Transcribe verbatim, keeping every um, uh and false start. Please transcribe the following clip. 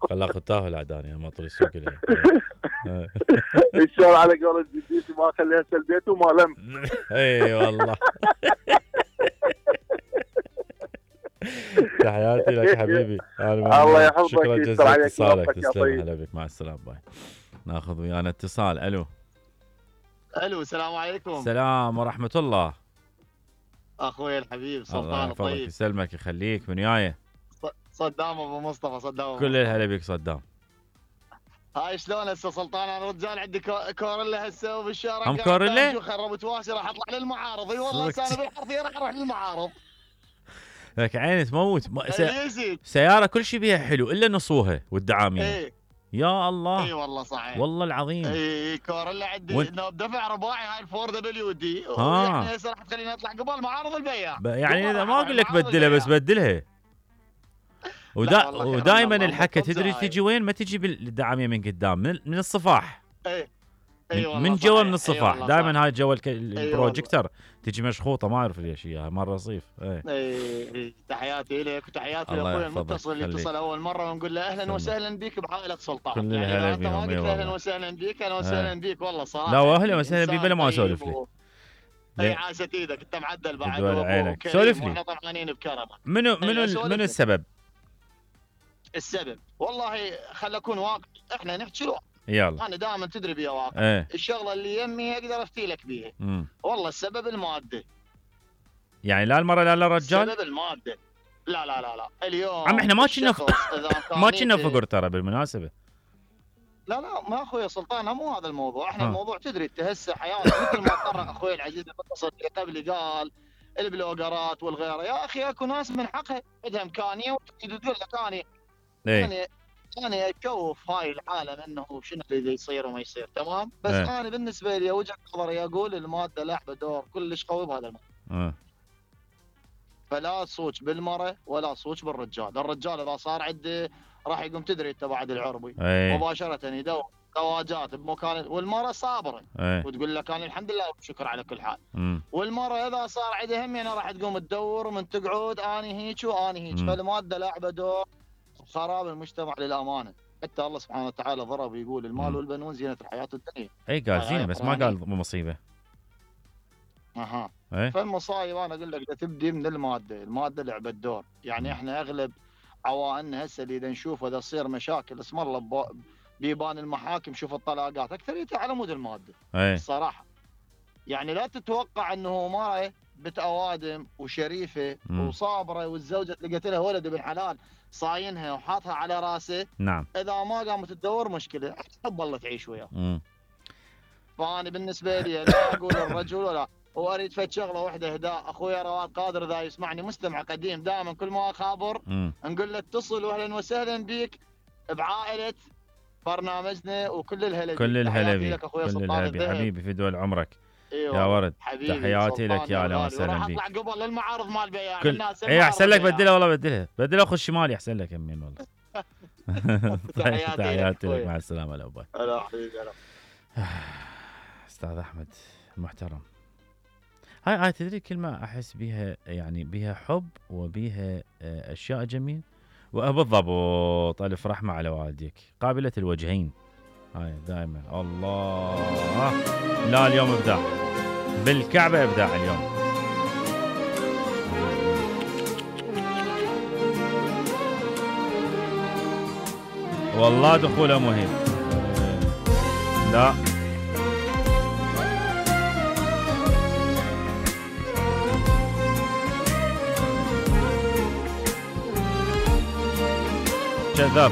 خلاك تاهل عداني ما طري السوق لي. ان شاء الله على قول الجديد ما خليها سلبيت وما لم. اي والله. تحياتي لك حبيبي. الله يحفظك. شكرا جزيلا اتصالك. تسلم. هلا بك. مع السلامه. باي. ناخذ ويانا اتصال. الو. الو السلام عليكم. السلام ورحمه الله. اخوي الحبيب سلطان الطيب. يسلمك يخليك. من وياي؟ صدام ابو مصطفى. صدام كل الهلا بك صدام. هاي شلون هسه سلطان؟ انا رجال عندي كوريلا هسه وبالشارع. ام كوريلا؟ خربت واسي راح اطلع للمعارض. اي والله هسه انا بالحرفيه راح اروح للمعارض. لك عيني تموت. سي... سياره كل شيء بيها حلو الا نصوها والدعامين. ايه يا الله. اي والله صحيح. والله العظيم. اي كوريلا عندي و... دفع رباعي هاي الفور دبليو دي. يعني هسه راح تخليني اطلع قبل معارض البيع. ب... يعني اذا ما اقول لك بدلها بس بدلها. ودا... ودائما الحكه تدري تجي وين؟ ما تجي بالدعاميه من قدام، من, من الصفاح. اي أيوة من جوا من الصفاح. أيوة دائما هاي جوا البروجيكتور أيوة تجي مشخوطه ما اعرف ليش اياها مره رصيف. اي اي تحياتي لك وتحياتي لاخوي المتصل اللي اتصل اول مره ونقول له اهلا وسهلا بك بعائله سلطان. يعني انت ما قلت اهلا وسهلا بك. اهلا وسهلا بك والله صراحه. لا واهلا وسهلا بي بلا ما اسولف لك. اي عاشت ايدك انت معدل بعد. دول عينك. سولف لي. واحنا طمعانين بكرمك. منو منو منو السبب؟ السبب والله خل اكون واقع. احنا نحكي له. يلا. انا دائما تدري بيها واقع. ايه. الشغله اللي يمي اقدر افتي لك بيها. مم. والله السبب الماده. يعني لا المرأة لا الرجال؟ السبب الماده. لا لا لا لا اليوم عم احنا ما كنا ف... ما كنا فقر ترى بالمناسبه. لا لا ما اخوي سلطان مو هذا الموضوع. احنا ها. الموضوع تدري انت هسه حياتك مثل ما قرر اخوي العزيز المتصل قبل قال البلوجرات والغيره. يا اخي اكو ناس من حقها عندها امكانيه وتقول لك انا يعني انا اشوف هاي العالم انه شنو اللي يصير وما يصير تمام. بس ايه. انا بالنسبه لي وجهه نظري اقول الماده لعبه دور كلش قوي بهذا الموضوع. اه. فلا تصوت بالمراه ولا تصوت بالرجال. الرجال اذا صار عنده راح يقوم تدري انت بعد العربي ايه. مباشره يدور زواجات بمكان. والمراه صابره ايه. وتقول لك انا الحمد لله والشكر على كل حال. مم. والمراه اذا صار عندها هم يعني راح تقوم تدور ومن تقعد اني هيك واني هيك. فالماده لعبه دور خراب المجتمع للامانه. حتى الله سبحانه وتعالى ضرب يقول المال والبنون زينه الحياه الدنيا. اي قال زينه بس ما قال مصيبه. اها. ايه. فالمصايب انا اقول لك تبدي من الماده. الماده لعبه دور. يعني م. احنا اغلب عوائلنا هسه اللي نشوفه اذا تصير مشاكل اسم الله بيبان المحاكم شوف الطلاقات اكثريتها على مود الماده. ايه. الصراحه يعني لا تتوقع انه مرأة بنت اوادم وشريفه م. وصابره والزوجه لقيت لها ولد ابن حلال صاينها وحاطها على راسه. نعم. اذا ما قامت تدور مشكله تحب الله تعيش وياه. فانا بالنسبه لي لا اقول الرجل ولا. واريد فد شغله واحده اهداء اخويا رواد قادر اذا يسمعني مستمع قديم دائما كل ما اخابر نقول له اتصل واهلا وسهلا بك بعائله برنامجنا وكل الهلا. كل الهلا بك. كل الهلا بك حبيبي في دول عمرك. إيوه يا ورد تحياتي لك يا اهلا وسهلا بك. راح اطلع قبل للمعارض مال بياع كل... الناس. اي احسن لك بدلها والله بدلها بدلها خش شمالي احسن لك يمين والله. تحياتي لك مع السلامه. لا باي. هلا حبيبي هلا. استاذ احمد المحترم. هاي هاي تدري كلمه احس بيها يعني بيها حب وبيها اشياء جميل وبالضبط الف رحمه على والديك قابله الوجهين. هاي دائما الله. لا اليوم ابداع بالكعبه ابداع اليوم. والله دخوله مهم. لا كذاب.